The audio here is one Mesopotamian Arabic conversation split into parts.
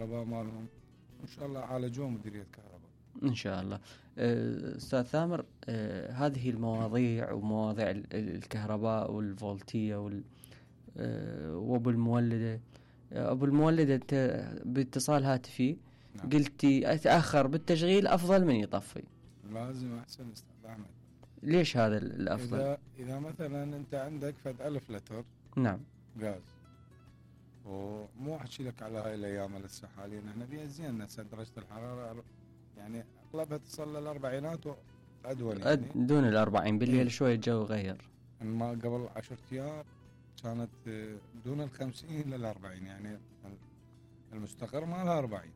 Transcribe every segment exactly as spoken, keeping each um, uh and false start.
الكهرباء مالهم، وإن شاء الله عالجوه مديرية كهرباء إن شاء الله. أستاذ ثامر، أه هذه المواضيع ومواضيع الكهرباء والفولتية وال أه وأبو المولدة أبو المولدة أنت باتصال هاتفي نعم. قلتي أتأخر بالتشغيل أفضل من يطفي. لازم أحسن أستاذ أحمد. ليش هذا الأفضل؟ إذا, إذا مثلا أنت عندك فد ألف لتر نعم غاز، ومو أحكي لك على هاي الأيام لسه حاليا احنا بيها زين هسه درجة الحرارة يعني أغلبها تصل للأربعينات وأدول يعني دون الأربعين بالليل شوية الجو غير. ما قبل عشرة أيام كانت دون الخمسين للأربعين، يعني المستقر مالها أربعين،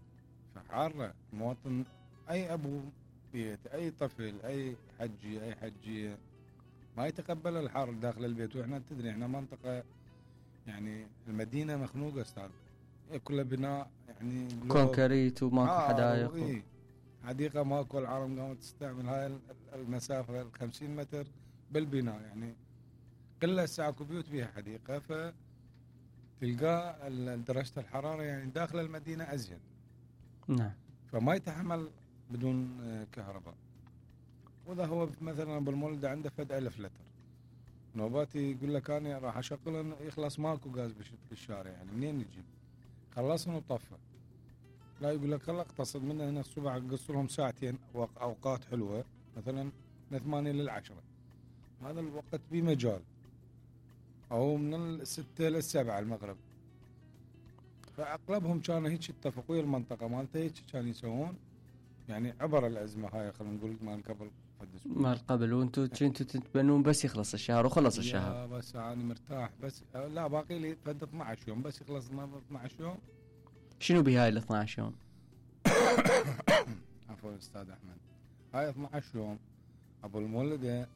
فحارة. مواطن أي أبو بيت أي طفل أي حجي أي حجية ما يتقبل الحر داخل البيت. وإحنا تدري إحنا منطقة يعني المدينة مخنوقة أستاذ، كلها بناء يعني كونكريت وماكو آه حدائق و... حديقة ماكو. العالم قامت تستعمل هاي المسافة الخمسين متر بالبناء، يعني قلة ساعة بيوت بيها حديقة، فتلقى درجة الحرارة يعني داخل المدينة أزين. نعم. فما يتحمل بدون كهرباء. وإذا هو مثلا بالمولد عنده فد ألف لتر نوباتي يقول لك أنا راح أشغل يخلص ماكو غاز بالشارع، يعني منين نجيب؟ خلصنا وطفى. لا يقول لك خلا اقتصد منه هنا الصبح قص لهم ساعتين أوقات حلوة مثلا من ثمانية للعشرة، هذا الوقت بمجال، أو من الستة للسبعة المغرب. فأغلبهم كانوا هيك يتفقوا، ويا المنطقة مالته هيك كانوا يسوون، يعني عبر الأزمة هاي خلينا نقول مال قبل مال قبل. وانتوا كنتوا تتبنون بس يخلص الشهر وخلص الشهر. لا بس أنا مرتاح بس لا باقي لي فد اثنا عشر يوم بس يخلص اثنا عشر يوم. شنو بهاي ال اثنا عشر يوم؟ عفوا أستاذ أحمد، هاي اثنا عشر يوم أبو المولدة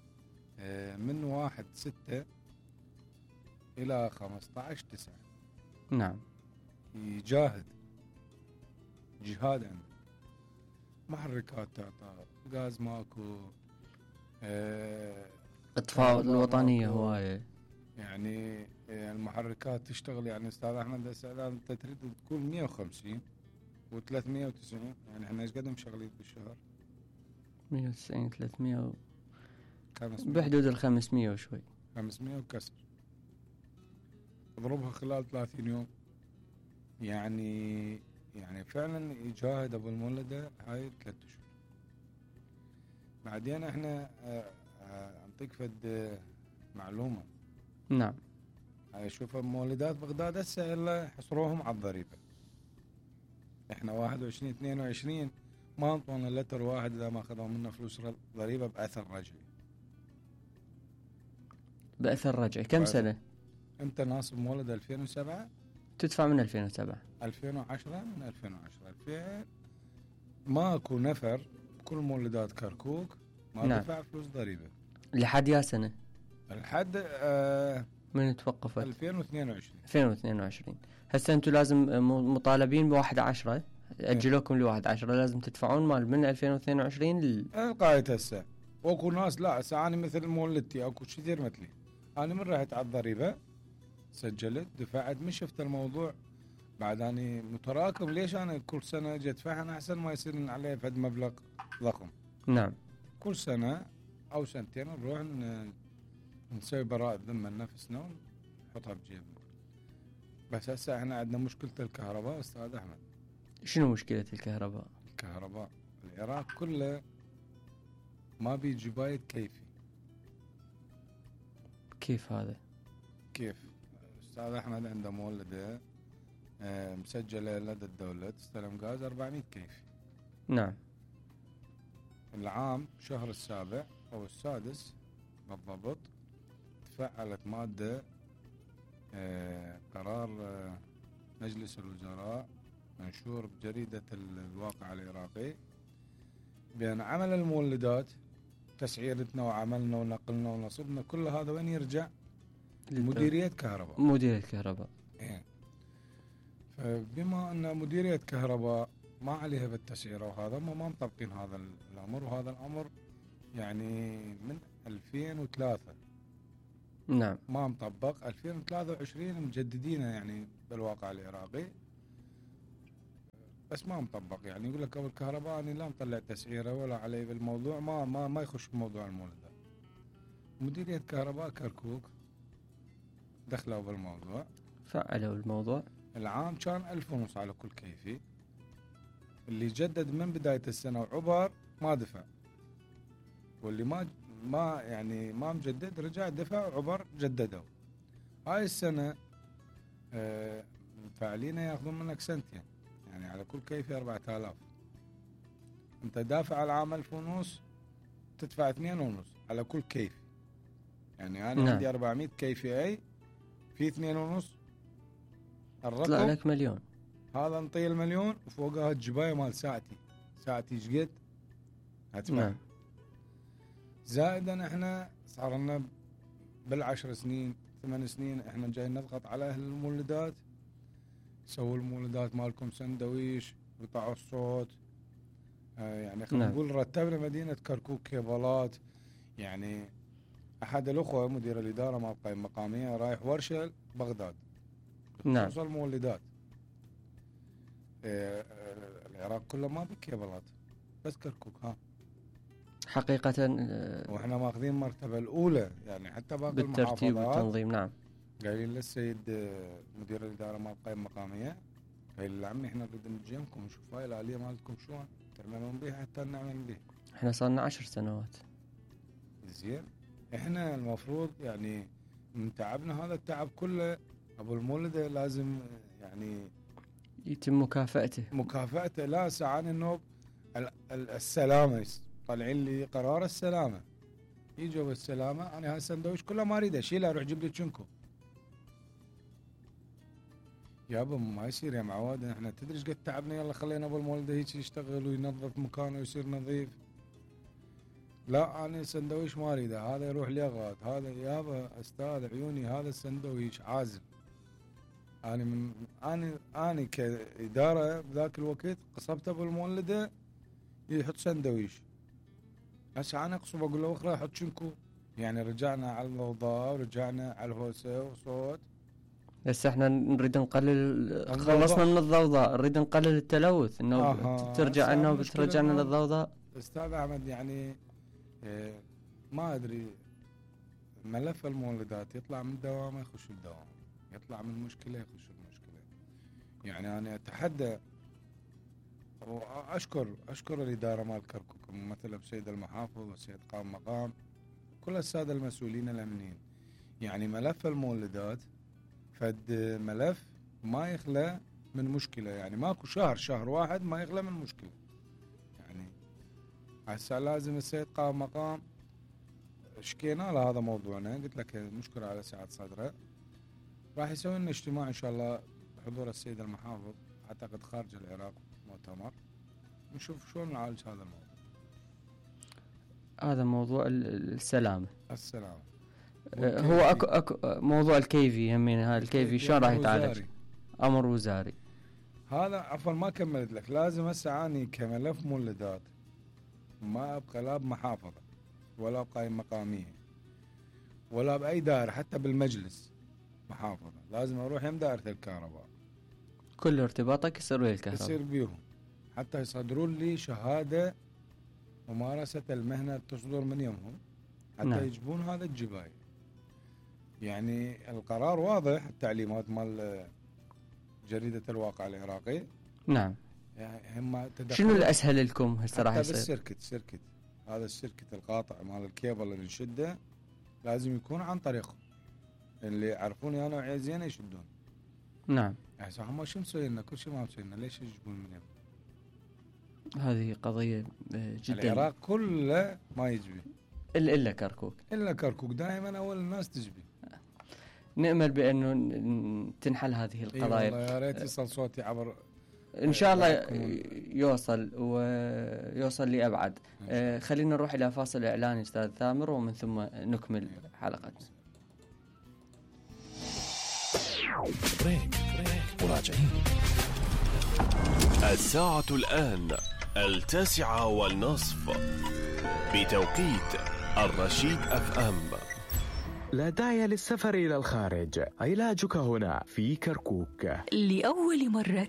من واحد ستة إلى خمسة عشر تسعة. نعم. يجاهد جهاد عنده، محركات تعطى، غاز ماكو، اه اطفاء الوطنية هواية، يعني المحركات تشتغل. يعني أستاذ أحمد هسه أنت تريد تقول مية وخمسين وثلاثمية وتسعين، يعني احنا ايش قد مشغلين بالشهر؟ مية وتسعين ثلاثمية و... خمسمية بحدود الخمسمية وشوي، خمسمية وكسر. اضربها خلال ثلاثين يوم، يعني يعني فعلا يجاهد ابو المولدة هاي ثلاث اشهر. بعدين احنا اعطيك فد معلومة. نعم. هاي شوف مولدات بغداد هسه الا حصروهم على الضريبة. احنا واحد وعشرين اثنين وعشرين ما انطونا لتر واحد اذا ما اخذوا منا فلوس ضريبة باثر رجعي. باثر رجعي كم سنة؟ انت ناصب مولد ألفين وسبعة تدفع من ألفين وسبعة. ألفين وعشرة من ألفين وعشرة ألفين ماكو نفر كل مولدات كركوك ما نعم. دفع فلوس ضريبة لحد يا سنة؟ لحد آه من توقفت؟ ألفين واثنين وعشرين. ألفين واثنين وعشرين. هسه انتم لازم مطالبين بواحد عشرة، اجلوكم لواحد عشرة لازم تدفعون مال من ألفين واثنين وعشرين لل... القايت هسه. واكو ناس لا هسه انا مثل مولدتي اكو كثير مثلي، انا من رحت على الضريبة سجلت دفعت، من شفت الموضوع بعد اني متراكم. ليش انا كل سنة اجي ادفعها؟ انا احسن ما يصير عليه فد مبلغ ضخم. نعم. كل سنة او سنتين نروح نسوي براءة ذمة لنفسنا ونحطها بجيبنا. بس هسه احنا عندنا مشكلة الكهرباء استاذ احمد. شنو مشكلة الكهرباء؟ الكهرباء العراق كله ما بيجي بايد كيفي. كيف هذا؟ كيف استاذ احمد عنده مولده اه مسجله لدى الدوله تستلم غاز أربعمية كيفي. نعم. العام شهر السابع او السادس بالضبط تفعلت ماده اه قرار اه مجلس الوزراء منشور بجريده الواقع العراقي بان عمل المولدات تسعيرتنا وعملنا ونقلنا ونصبنا كل هذا وين يرجع؟ مديرية كهرباء. مديرية كهرباء. إيه. فبما أن مديرية كهرباء ما عليها بالتسعيرة وهذا ما ما مطبقين هذا الأمر، وهذا الأمر يعني من ألفين وثلاثة. نعم. ما مطبق. ألفين وثلاثة وعشرين مجددينه يعني بالواقع العراقي. بس ما مطبق. يعني يقول لك ابو الكهرباء انا لا مطلع تسعيره ولا علي بالموضوع، ما ما ما يخش بموضوع المولدات. مديرية كهرباء كركوك دخلوا بالموضوع، فعلوا الموضوع. العام كان ألف ونص على كل كيفي، اللي جدد من بداية السنة وعبر ما دفع، واللي ما ما يعني ما مجدد رجع دفع وعبر جددوا. هاي السنة آه فاعلين ياخذون منك سنتين، يعني على كل كيفي أربعة آلاف. انت دافع على العام ألف ونص تدفع اثنين ونص على كل كيف. يعني انا نعم. عندي أربعمية كيفي اي في اثنين ونص طلع الرقم لك مليون. هذا نطي المليون وفوقها الجباية مال ساعتي. ساعتي شقد هدفع. نعم. زائدا احنا صار لنا بالعشر سنين ثمان سنين احنا جايين نضغط على اهل المولدات، سووا المولدات مالكم سندويش قطعوا الصوت. آه يعني خلينا نعم. نقول رتبنا مدينة كركوك كيبلات. يعني احد الاخوة مدير الادارة مال القائمة المقامية رايح ورشة بغداد نعم. توصل مولدات. آه آه العراق كله ما بكيبلات بس كركوك. ها حقيقة آه، واحنا ماخذين المرتبة الاولى، يعني حتى باقي بالترتيب المحافظات والتنظيم. نعم. قايلين للسيد آه، مدير الاداره مال القائمه المقاميه، قايل له عمي احنا نريد نجيكم نشوف هاي الاليه مالتكم شلون تعملون بيها حتى نعمل بيها. احنا صار لنا عشر سنوات. زين احنا المفروض يعني من تعبنا هذا التعب كله ابو المولده لازم يعني يتم مكافأته. مكافأته. لا سعاني النوب ال- ال- السلامه طالعين لي قرار السلامه، يجوا بالسلامه انا هالسندويش كله ما اريده شيله اروح جيب لي تشنكو. يابا ما يصير يا معود، احنا تدري ايش قد تعبنا، يلا خلينا ابو المولده هيك يشتغل وينظف مكانه ويصير نظيف. لا انا السندويش ما اريده، هذا يروح ليغاد، هذا يابا استاذ عيوني هذا السندويش عازل. انا من انا انا كاداره بذاك الوقت قصبت ابو المولده يحط سندويش. هسه انا اقصب اقول له اخرى حط شنكو. يعني رجعنا على الضوضاء ورجعنا على الهوسه وصوت. بس احنا نريد نقلل، الضوضاء. خلصنا من الضوضاء، نريد نقلل التلوث، انه آها. ترجع هسه انه المشكلة بترجعنا إنه- للضوضاء. استاذ احمد يعني إيه ما ادري ملف المولدات يطلع من دوامه يخش بدوامه، يطلع من مشكله يخش بمشكله. يعني انا اتحدى واشكر اشكر الاداره مال كركوك ممثله بسيد المحافظ والسيد قائم مقام كل الساده المسؤولين الامنيين. يعني ملف المولدات فد ملف ما يخلى من مشكله، يعني ماكو شهر شهر واحد ما يخلى من مشكله. يعني هسه لازم السيد قائم مقام شكينا له هذا موضوعنا، قلت لك نشكر على سعة صدره، راح يسوي لنا اجتماع ان شاء الله بحضور السيد المحافظ اعتقد خارج العراق مؤتمر، نشوف شلون نعالج هذا الموضوع. هذا موضوع ال- السلامة. السلام. آه، هو اكو اكو موضوع الكيفي همين، هاي الكيفي شلون راح يتعالج؟ وزاري. امر وزاري. هذا عفوا ما كملت لك، لازم هسه اني كملف مولدات ما ابقى لا بمحافظه ولا بقائمه مقاميه ولا باي دائره، حتى بالمجلس محافظه لازم اروح يم دائره الكهرباء، كل ارتباطك يصير ويا الكهرباء. يصير بيهم حتى يصدرون لي شهاده ممارسه المهنه تصدر من يمهم حتى نعم. يجيبون هذا الجباي. يعني القرار واضح، التعليمات مال جريده الواقع العراقي. نعم. يعني هم تدخل شنو الاسهل لكم هسه راح حتى يصير؟ بالسيركت سيركت هذا السيركت القاطع مال الكيبل اللي نشده لازم يكون عن طريقهم، اللي يعرفوني انا وعي زينه يشدون. نعم. يعني هم شو مسوي لنا؟ كل شيء ما مسوي لنا، ليش يجيبون من يم؟ هذه قضية آه، جدا. العراق كله ما يجبي الا الا كركوك. الا كركوك دائما اول الناس تجبي. نأمل بانه ن- تنحل هذه القضايا. اي والله يا ريت يصل صوتي عبر ان شاء الله يكون- يوصل ويوصل لأبعد. آه، خلينا نروح الى فاصل اعلاني استاذ ثامر، ومن ثم نكمل حلقتنا. بريك مراجعين. الساعة الآن التاسعة والنصف بتوقيت الرشيد أف أم. لا داعي للسفر إلى الخارج، علاجك هنا في كركوك. لأول مرة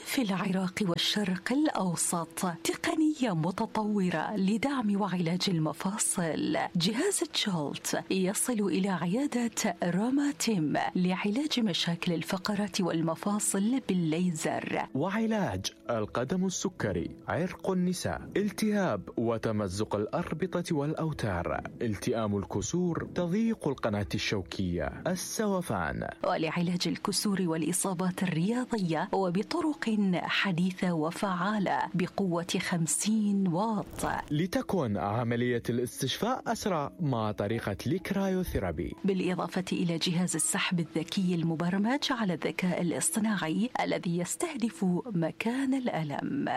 في العراق والشرق الأوسط تقنية متطورة لدعم وعلاج المفاصل. جهاز جولت يصل إلى عيادة روماتيم لعلاج مشاكل الفقرات والمفاصل بالليزر، وعلاج القدم السكري، عرق النساء، التهاب وتمزق الأربطة والأوتار، التئام الكسور، تضييق القناة الشوكية، السوفان، ولعلاج الكسور والإصابات الرياضية وبطرق حديثة وفعالة بقوة خمسين واط. لتكن عملية الاستشفاء أسرع مع طريقة الكرايوثيرابي، بالإضافة إلى جهاز السحب الذكي المبرمج على الذكاء الاصطناعي الذي يستهدف مكان الألم.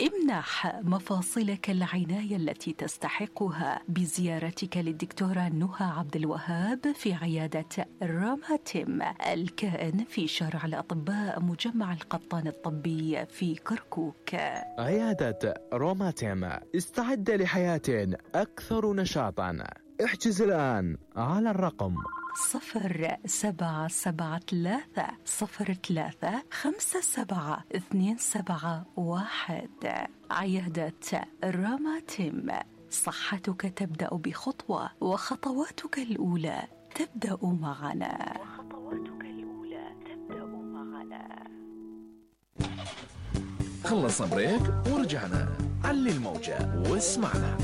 امنح مفاصلك العناية التي تستحقها بزيارتك للدكتورة نهى عبد الوهاب في عيادة روماتيم الكائن في شارع الأطباء مجمع القطان الطبي في كركوك. عيادة روماتيم، استعد لحياة أكثر نشاطا. احجز الآن على الرقم صفر سبعة سبعة ثلاثة صفر ثلاثة خمسة سبعة اثنين سبعة واحد. عيادة روماتيم، صحتك تبدأ بخطوة وخطواتك الأولى تبدأ معنا. وخطواتك الأولى تبدأ معنا. خلصنا بريك ورجعنا. علي الموجة واسمعنا.